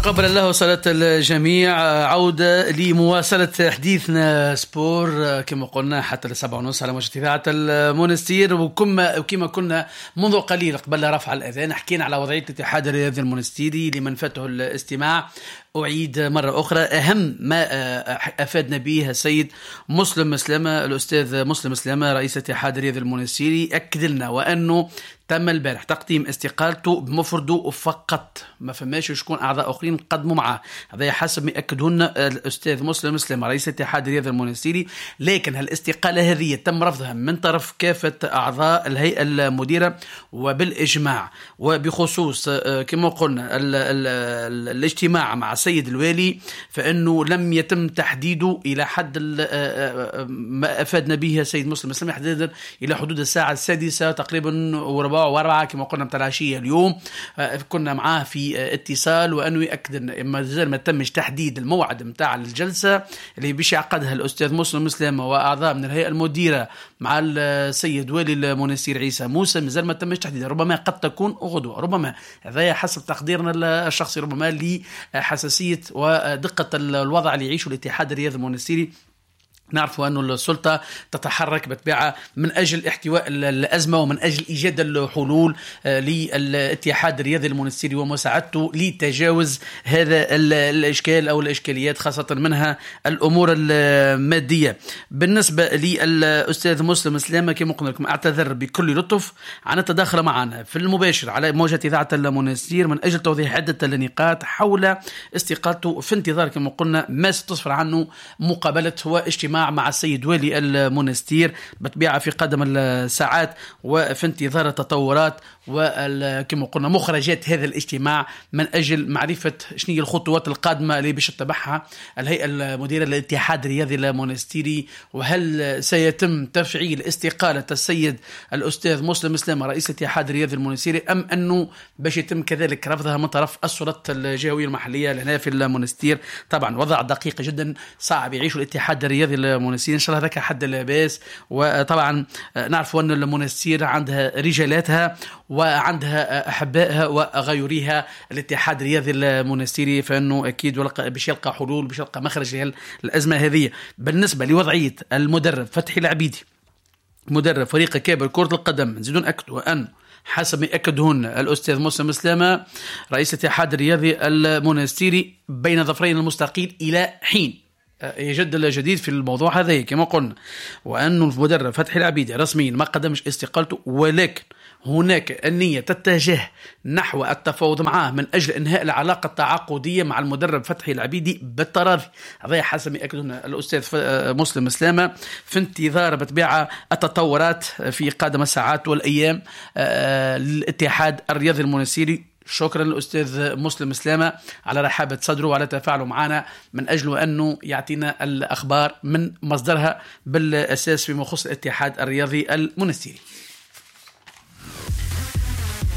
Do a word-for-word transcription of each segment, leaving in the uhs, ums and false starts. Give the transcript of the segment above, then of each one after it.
تقبل الله صلاة الجميع. عودة لمواصلة حديثنا sport كما قلنا حتى لسبعة ونص على موجة إذاعة المونستير، وكما وكما كنا منذ قليل قبل رفع الأذان حكينا على وضعية الاتحاد الرياضي المونستيري لمن فاته الاستماع. أعيد مرة أخرى أهم ما أفادنا به السيد مسلم سلامة، الأستاذ مسلم سلامة رئيس الاتحاد الرياضي المونستيري، أكد لنا وأنه تم البارح تقديم استقالته بمفرده فقط، ما فماش شكون أعضاء آخرين قدموا معه، هذا حسب ما يأكدهن الأستاذ مسلم سلامة رئيس الاتحاد الرياضي المونستيري. لكن هالاستقالة هذه تم رفضها من طرف كافة أعضاء الهيئة المديرة وبالإجماع، وبخصوص كما قلنا ال ال ال الاجتماع مع السيد الوالي فإنه لم يتم تحديده إلى حد ما أفادنا به السيد مسلم سلامة حديدا إلى حدود الساعة السادسة تقريبا وربع وأربعة كما قلنا متاع العشية اليوم. كنا معاه في اتصال وأنه يأكد أن ما زال ما تمش تحديد الموعد متاع الجلسة اللي باش يعقدها الأستاذ مسلم سلامة وأعضاء من الهيئة المديرة مع السيد والي المونستير عيسى موسى، مازال ما تمش تحديدها، ربما قد تكون غدوة، ربما هذا حسب تقديرنا الشخصي، ربما لحساسية ودقة الوضع اللي يعيشه الاتحاد الرياضي المونستيري. نعرف أن السلطة تتحرك بطبيعة من أجل احتواء الأزمة ومن أجل إيجاد الحلول للاتحاد الرياضي المونستيري ومساعدته لتجاوز هذا الإشكال أو الإشكاليات، خاصة منها الأمور المادية. بالنسبة للأستاذ مسلم سلامة كما قلنا لكم أعتذر بكل لطف عن التداخل معنا في المباشر على موجة إذاعة المونستير من أجل توضيح عدة النقاط حول استقالته، في انتظار كما قلنا ما ستصفر عنه مقابلة واجتماع مع السيد والي المونستير بطبيعة في قدم الساعات، وفي انتظار التطورات وكما قلنا مخرجات هذا الاجتماع من أجل معرفة شنو هي الخطوات القادمة اللي باش تتبعها الهيئة المديرة للاتحاد الرياضي المونستيري، وهل سيتم تفعيل استقالة السيد الأستاذ مسلم سلامة رئيس الاتحاد الرياضي المونستيري أم أنه باش يتم كذلك رفضها من طرف السلطات الجهوية المحلية لهنا في المونستير. طبعا وضع دقيق جدا صعب يعيشه الاتحاد الرياضي المونستير، إن شاء الله هذاك حد لاباس. وطبعا نعرف أن المونستير عندها رجالاتها وعندها أحبائها وغيرها الاتحاد الرياضي المونستيري، فإنه أكيد باش يلقى حلول، باش يلقى مخرج للأزمة هذه. بالنسبة لوضعية المدرب فتحي العبيدي مدرب فريق كابر كرة القدم، نزيدون أكدوا أن حسب ما أكدهن الأستاذ مسلم سلامة رئيس الاتحاد الرياضي المونستيري بين ظفرين المستقيل إلى حين يجد الجديد في الموضوع هذا كما قلنا، وأن المدرب فتحي العبيدي رسميا ما قدمش استقالته، ولكن هناك النية تتجه نحو التفاوض معه من أجل إنهاء العلاقة التعاقدية مع المدرب فتحي العبيدي بالتراضي. هذا حسب ما يأكدون الأستاذ مسلم سلامة، في انتظار بطبيعة التطورات في قادم الساعات والأيام للاتحاد الرياضي المونستيري. شكرا للأستاذ مسلم سلامة على رحابة صدره وعلى تفاعله معنا من أجل أنه يعطينا الأخبار من مصدرها بالأساس فيما يخص الاتحاد الرياضي المونستيري.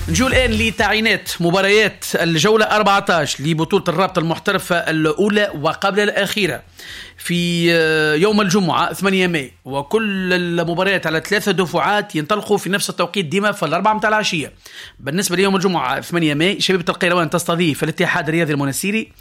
نجو الآن لتعيينات مباريات الجولة أربعة عشر لبطولة الرابطة المحترفة الأولى وقبل الأخيرة في يوم الجمعة ثمانية ماي، وكل المباريات على ثلاثة دفعات ينطلقوا في نفس التوقيت ديما في الأربعة متاع العشية. بالنسبة ليوم الجمعة ثمانية ماي، شبيبة القيروان تستضيف الاتحاد الرياضي المونستيري،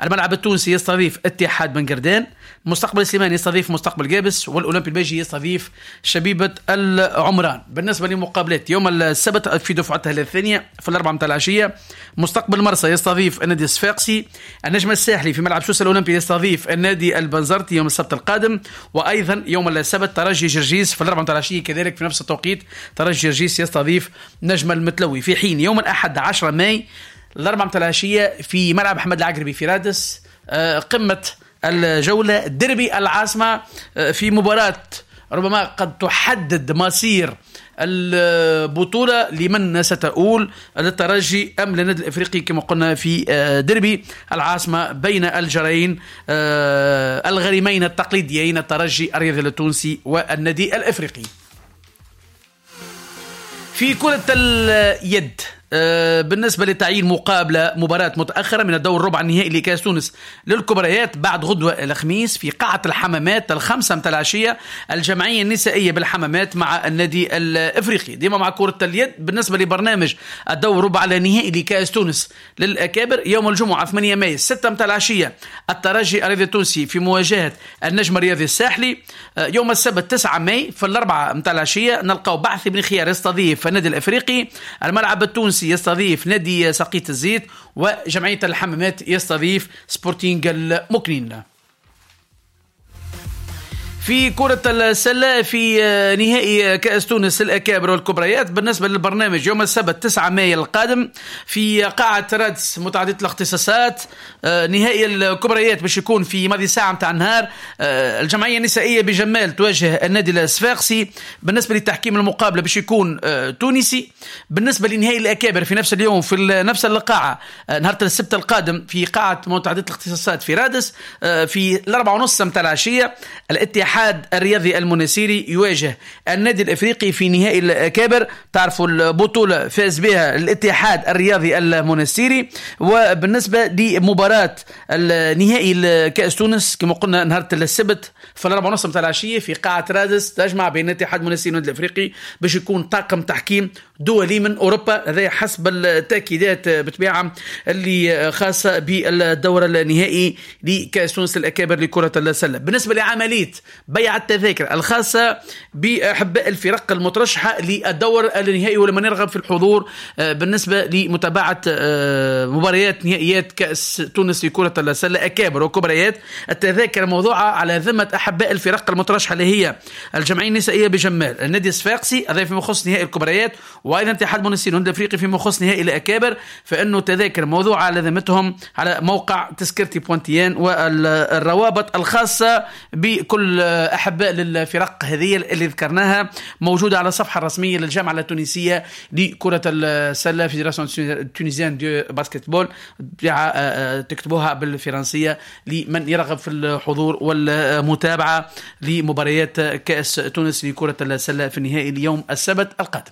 الملعب التونسي يستضيف اتحاد بن قردان، مستقبل سليمان يستضيف مستقبل قابس، والأولمبي الباجي يستضيف شبيبة العمران. بالنسبة لمقابلات يوم السبت في دفعتها الثانية في الأربعة متاع العشية، مستقبل مرسى يستضيف النادي الصفاقسي، النجم الساحلي في ملعب سوسة الأولمبي يستضيف النادي البنزرتي يوم السبت القادم، وأيضا يوم السبت ترجي جرجيس في الأربعة متاع العشية كذلك في نفس التوقيت ترجي جرجيس يستضيف نجم المتلوي. في حين يوم الأحد عشرة ماي الأربعة متاع العشية في ملعب أحمد العقربي في رادس، قمة الجولة ديربي العاصمة في مباراة ربما قد تحدد مصير البطولة لمن ستؤول، للترجي أم للنادي الإفريقي كما قلنا في ديربي العاصمة بين الجرين الغريمين التقليديين الترجي الرياضي التونسي والنادي الإفريقي. في كرة اليد بالنسبة لتعيين مقابلة مباراة متأخرة من الدور الربع النهائي لكأس تونس للكبريات بعد غدوة الخميس في قاعة الحمامات الخمسة متاع العشية، الجمعية النسائية بالحمامات مع النادي الإفريقي. ديما مع كرة اليد بالنسبة لبرنامج الدور ربع النهائي لكأس تونس للأكابر يوم الجمعة ثمانية مايو ستة متاع العشية الترجي الرياضي التونسي في مواجهة النجم الرياضي الساحلي. يوم السبت تسعة ماي في الأربعة متاع العشية نلقاو بعث بن خيار يستضيف النادي الإفريقي، الملعب التونسي يستضيف نادي سقيط الزيت، وجمعية الحمامات يستضيف سبورتينغ المكنين. في كرة السلة في نهائي كأس تونس الأكابر والكبريات بالنسبة للبرنامج يوم السبت تسعة مايو القادم في قاعة رادس متعددة الاختصاصات، نهائي الكبريات باش يكون في ماضي ساعة متاع النهار. الجمعية النسائية بجمال تواجه النادي الصفاقسي. بالنسبة لتحكيم المقابلة باش يكون تونسي. بالنسبة لنهائي الأكابر في نفس اليوم في نفس القاعة نهار السبت القادم في قاعة متعددة الاختصاصات في رادس في الأربعة ونص متاع العشية، الاتحاد الرياضي المنسيري يواجه النادي الافريقي في نهائي الأكابر. تعرفوا البطولة فاز بها الاتحاد الرياضي المنسيري. وبالنسبة لمباراة النهائي كأس تونس كما قلنا نهار السبت في الأربعة ونص متاع العشية في قاعة رادس تجمع بين الاتحاد المنسيري والنادي الافريقي باش يكون طاقم تحكيم دولي من أوروبا، هذا حسب التأكيدات بطبيعة اللي خاصة بالدور النهائي لكأس تونس الأكابر لكرة السلة. بالنسبة لعملية بيع التذاكر الخاصة بأحباء الفرق المترشحة للدور النهائي ولمن يرغب في الحضور بالنسبة لمتابعة مباريات نهائيات كأس تونس لكرة السلة أكابر وكبريات، التذاكر موضوعة على ذمة أحباء الفرق المترشحة اللي هي الجمعية النسائية بجمال، النادي الصفاقسي هذا فيما يخص نهائي الكبريات، وايضا اتحاد منستير والنادي الافريقي فيما يخص نهائي الاكابر، فانه تذاكر موضوعه على ذمتهم على موقع تذكرتي point tn والروابط الخاصة بكل احباء للفرق هذه اللي ذكرناها موجودة على الصفحة الرسمية للجامعة التونسية لكرة السلة Fédération tunisienne de basket-ball، تكتبوها بالفرنسيه لمن يرغب في الحضور والمتابعة لمباريات كاس تونس لكرة السلة في النهائي اليوم السبت القادم.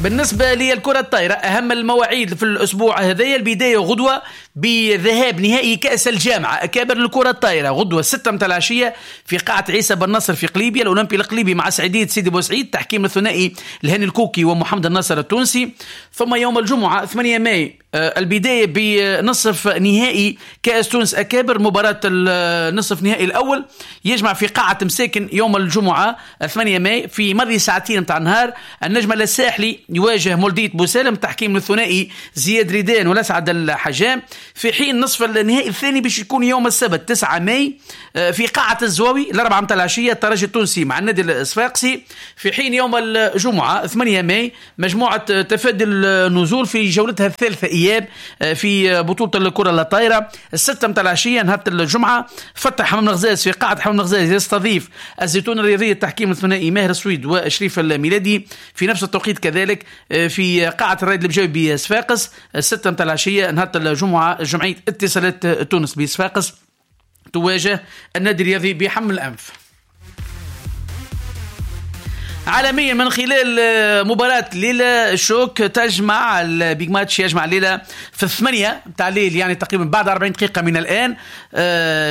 بالنسبة للكرة الطايرة أهم المواعيد في الأسبوع هذايا، البداية غدوة بذهاب نهائي كأس الجامعة أكابر الكرة الطايرة غدوة ستة متاع العشية في قاعة عيسى بن نصر في قليبيا، الأولمبي القليبي مع سعيدية سيدي بوسعيد، تحكيم الثنائي الهاني الكوكي ومحمد الناصر التونسي. ثم يوم الجمعة ثمانية ماي البداية بنصف نهائي كأس تونس أكابر، مباراة النصف نهائي الأول يجمع في قاعة مساكن يوم الجمعة ثمانية ماي في ماضي ساعتين متاع النهار النجم الساحلي يواجه مولدية بوسالم، تحكيم الثنائي زياد ريدان والأسعد الحجام. في حين نصف النهائي الثاني باش يكون يوم السبت تسعة ماي في قاعة الزواوي الأربعة متاع العشية الترجي التونسي مع النادي الصفاقسي. في حين يوم الجمعة ثمانية ماي مجموعة تفادي النزول في جولتها الثالثة إياب في بطولة الكرة الطايرة الستة متاع العشية نهار الجمعة فتح حمام الغزاز في قاعة حمام الغزاز يستضيف الزيتون الرياضية، التحكيم الثنائي ماهر السويد وشريف الميلادي. في نفس التوقيت كذلك في قاعة الرائد البجاوي بصفاقس الستة متاع العشية نهار الجمعة جمعية اتصالات تونس بصفاقس تواجه النادي الرياضي بحمل الأنف. عالميا من خلال مباراة ليلة شوك تجمع ال big match يجمع ليلة في الثمانية متاع الليل، يعني تقريبا بعد أربعين دقيقة من الآن،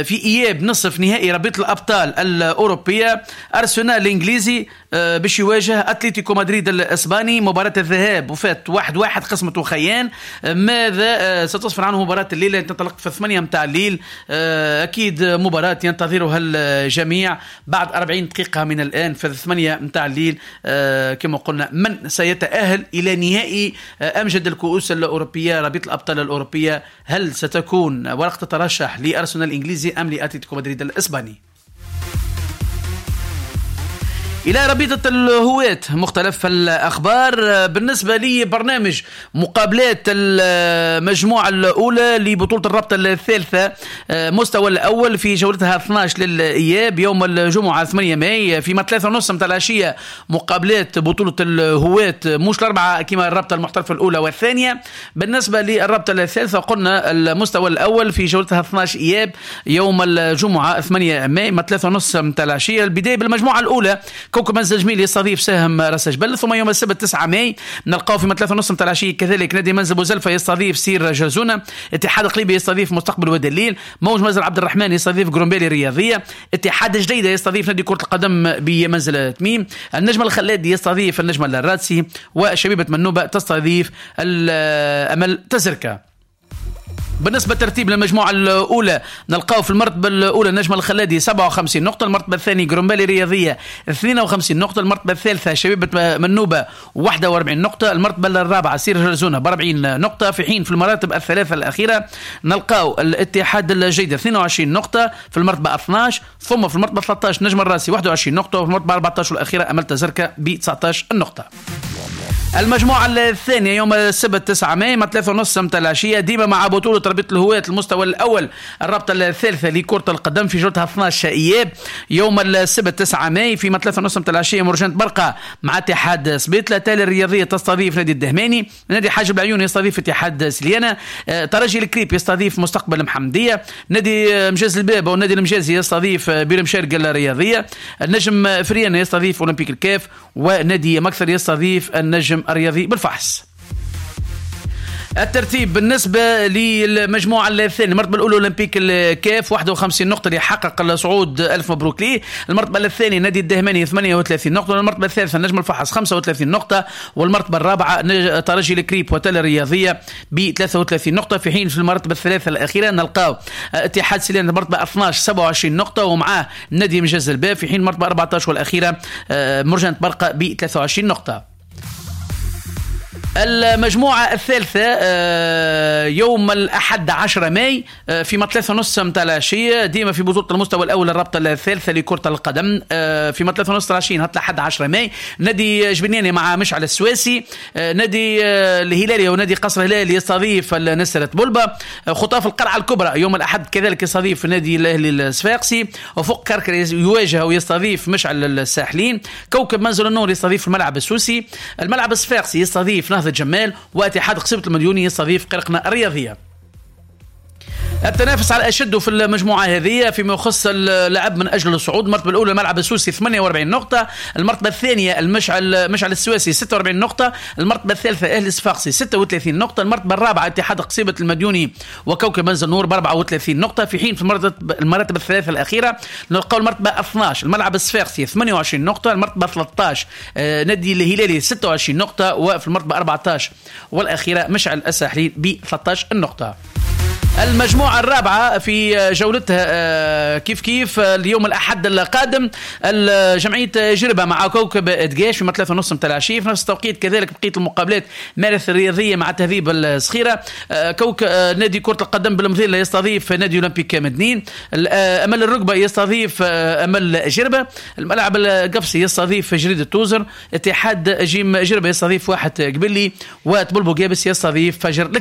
في إياب نصف نهائي رابطة الأبطال الأوروبية أرسنال الإنجليزي باش يواجه أتلتيكو مدريد الإسباني. مباراة الذهاب وفات واحد واحد قسمته خيان. ماذا ستصفر عنه مباراة الليلة تنطلق في الثمانية متاع الليل؟ أكيد مباراة ينتظرها الجميع بعد أربعين دقيقة من الآن في الثمانية متاع الليل. كما قلنا من سيتأهل إلى نهائي أمجد الكؤوس الأوروبية رابطة الأبطال الأوروبية؟ هل ستكون ورقة ترشح لأرسنال الإنجليزي أم لأتلتيكو مدريد الإسباني؟ إلى رابطة الهواة مختلف الأخبار. بالنسبة لي برنامج مقابلات المجموعة الأولى لبطولة الرابطة الثالثة مستوى الأول في جولتها اثناش للإياب يوم الجمعة ثمانية ماي في ثلاثة ونص متاع العشية مقابلات بطولة الهواة، مش الأربعة كما الرابطة المحترفة الأولى والثانية. بالنسبة للرابطة الثالثة قلنا المستوى الأول في جولتها اثناش إياب يوم الجمعة ثمانية ماي ثلاثة ونص متاع العشية. البداية بالمجموعة الأولى كوكب منزل جميل يستضيف سهم راس جبل. ثم يوم السبت تسعة ماي نلقاو في ثلاثة ونص نتاع العشية كذلك نادي منزل بوزلفه يستضيف سير جرزونه، اتحاد قليبي يستضيف مستقبل وادي الليل، موج منزل عبد الرحمن يستضيف قرنبالي الرياضية، اتحاد جديدة يستضيف نادي كره القدم بمنزل تميم، النجم الخلادي يستضيف النجم الرادسي، وشبيبه منوبه تستضيف الامل تزركه. بالنسبة لترتيب المجموعة الأولى نلقاو في المرتبة الأولى النجم الخلادي سبعة وخمسين نقطة، المرتبة الثانية قرنبالي رياضية اثنين وخمسين نقطة، المرتبة الثالثة شبيبة منوبة واحد وأربعين نقطة، المرتبة الرابعة سير جرزونة ب أربعين نقطة، في حين في المراتب الثلاثة الأخيرة نلقاو الاتحاد الجيد اثنين وعشرين نقطة في المرتبة اثناش، ثم في المرتبة ثلاثة عشر نجم الراسي واحد وعشرين نقطة، وفي المرتبة أربعة عشر الأخيرة أمل تزركة ب تسعة عشر نقطة. المجموعة الثانية يوم السبت تسعة ماي مع ثلاثة ونص متاع العشية ديما مع بطولة رابطة الهواة المستوى الأول الرابطة الثالثة لكرة القدم في جولتها اثناش إياب. يوم السبت تسعة ماي في ثلاثة ونص متاع العشية مرجان برقة مع اتحاد سبيطلة، تالي الرياضية تستضيف نادي الدهماني، نادي حاجب العيون يستضيف اتحاد سليانة، ترجي الكريب يستضيف مستقبل المحمدية، نادي مجاز الباب والنادي المجازي يستضيف بير مشارق الرياضية، النجم فريان يستضيف أولمبيك الكاف، ونادي مكثر يستضيف النجم الرياضي بالفحص. الترتيب بالنسبة للمجموعة الثانية، المرتبة الأولى أولمبيك الكاف واحد وخمسين نقطة اللي حقق الصعود، ألف مبروك ليه. المرتبة الثانية نادي الدهماني ثمانية وثلاثين نقطة، والمرتبة الثالثة نجم الفحص خمسة وثلاثين نقطة، والمرتبة الرابعة ترجي الكريب وتل الرياضية ب ثلاثة وثلاثين نقطة، في حين في المرتبة الثلاثة الأخيرة نلقاو اتحاد سليان المرتبة اثناش سبعة وعشرين نقطة ومعاه نادي مجاز الباب، في حين المرتبة أربعة عشر والأخيرة مرجان برقة ب ثلاثة وعشرين نقطة. المجموعة الثالثة يوم الأحد عشرة ماي في ثلاثة ونص متاع العشية ديما في بطولة المستوى الأول الرابطة الثالثة لكرة القدم في ثلاثة ونص العشية نهار الأحد عشرة ماي نادي جبنياني مع مشعل السواسي، نادي الهلالي ونادي قصر الهلال يستضيف نسرة بولبا، خطاف القلعة الكبرى يوم الأحد كذلك يستضيف نادي الأهلي الصفاقسي، وفوق كركر يواجه ويستضيف مشعل الساحلين، كوكب منزل النور يستضيف الملعب السوسي، الملعب الصفاقسي يستضيف نهضة جمال، واتحاد قصيبة المليوني يستضيف قرقنة الرياضية. التنافس على أشد في المجموعة هذه فيما يخص اللعب من أجل الصعود. المرتبة الأولى الملعب السوسي ثمانية وأربعين نقطة، المرتبة الثانية المشعل مشعل السواسي ستة وأربعين نقطة، المرتبة الثالثة أهلي الصفاقسي ستة وثلاثين نقطة، المرتبة الرابعة اتحاد قصيبة المديوني وكوكب منزل نور ب أربعة وثلاثين نقطة، في حين في المراتب الثلاثة الأخيرة نلقاو المرتبة اثناش الملعب الصفاقسي ثمانية وعشرين نقطة، المرتبة ثلاثة عشر نادي الهلالي ستة وعشرين نقطة، وفي المرتبة أربعة عشر والأخيرة مشعل الساحلي ب ثلاثة عشر نقطة. المجموعة الرابعة في جولتها كيف كيف اليوم الأحد القادم جمعية جربة مع كوكب دقاش في ثلاثة ونص متاع العشية، في نفس التوقيت كذلك بقية المقابلات مارث الرياضية مع تهذيب الصخيرة، كوك نادي كرة القدم بالمظيلة يستضيف نادي أولمبيك مدنين، أمل الركبة يستضيف أمل جربة، الملعب القفصي يستضيف جريدة توزر، اتحاد جيم جربة يستضيف واحد قبلي، وتبلبو جابس يستضيف فجر.